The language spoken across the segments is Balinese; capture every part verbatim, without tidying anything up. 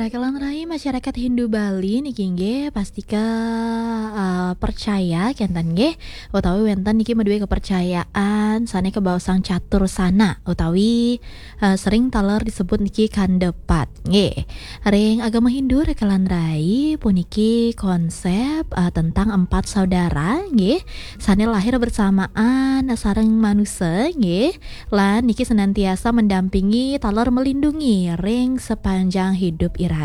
Kalantaran masyarakat Hindu Bali niki nggih pastika, eh, percaya kenten nggih, utawi wenten niki maduwe kepercayaan sane kebaosang catur sana utawi, eh, sering taler disebut niki kandepat nggih. Ring agama Hindu kalantaran puniki konsep, eh, tentang empat saudara nggih, sane lahir bersamaan sareng manusa nggih, lan niki senantiasa mendampingi taler melindungi ring sepanjang hidup iraga.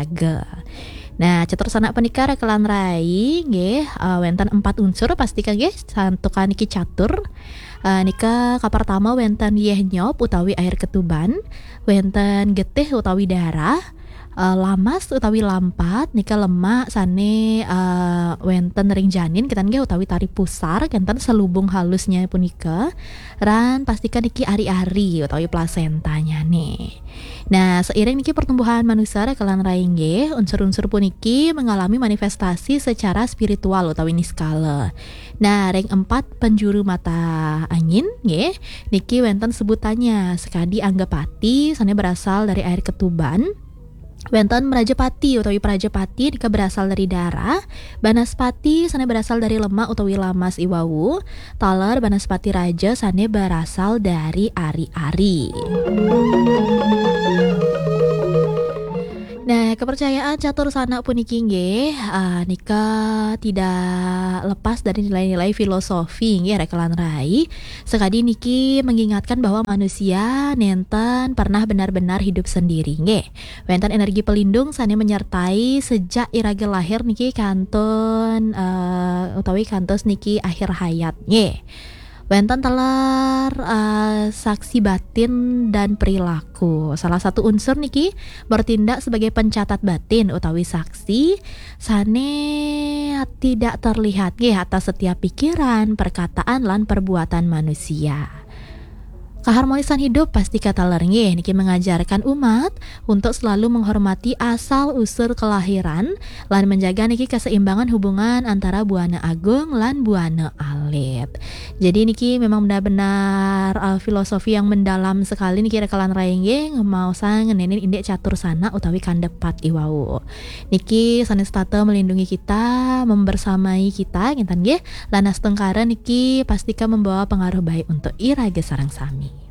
Nah, catur sanak punika kalantaran nggih, eh, wenten empat unsur pastika nggih, santukan niki catur. Eh, nika kapertama wenten yeh nyop utawi air ketuban, wenten getih utawi darah, eh, lamas utawi lampat, nika lemak sane, eh, wenten ring janin kenten nggih utawi tari pusar, kenten selubung halusnya punika, ran pastika niki ari-ari utawi plasentanyane. Nah, seiring niki pertumbuhan manusia kalantaran nggih, unsur-unsur puniki mengalami manifestasi secara spiritual utawi niskala. Nah, ring empat penjuru mata angin nggih, niki wenten sebutannya, sekadi Anggapati sane berasal dari air ketuban, wenten Mrajapati utawi Prajapati nika berasal dari darah, Banaspati sane berasal dari lemak utawi lamas iwau, taler Banaspati Raja sane berasal dari ari-ari. Nah, kepercayaan catur sanak puniki nggih, ah, nika tidak lepas dari nilai-nilai filosofi nggih, kalantaran. Sekadi niki mengingatkan bahwa manusia nenten pernah benar-benar hidup sendiri nggih. Wenten energi pelindung sane menyertai sejak iraga lahir niki kantun, eh, utawi kantos niki akhir hayat nggih. Wenten taler, eh, saksi batin dan perilaku. Salah satu unsur niki bertindak sebagai pencatat batin utawi saksi sane tidak terlihat nggih atas setiap pikiran, perkataan, lan perbuatan manusia. Keharmonisan hidup pastika taler nggih niki mengajarkan umat untuk selalu menghormati asal usul kelahiran lan menjaga niki keseimbangan hubungan antara buana agung lan buana alit. Jadi niki memang benar-benar, uh, filosofi yang mendalam sekali niki kalantaran nggih, ngemaosang ngenenin indik catur sanak utawi kandepat iwau. Niki sane setata melindungi kita, membersamai kita, ngenten nggih. Lan astungkara niki pastika membawa pengaruh baik untuk iraga sareng sami.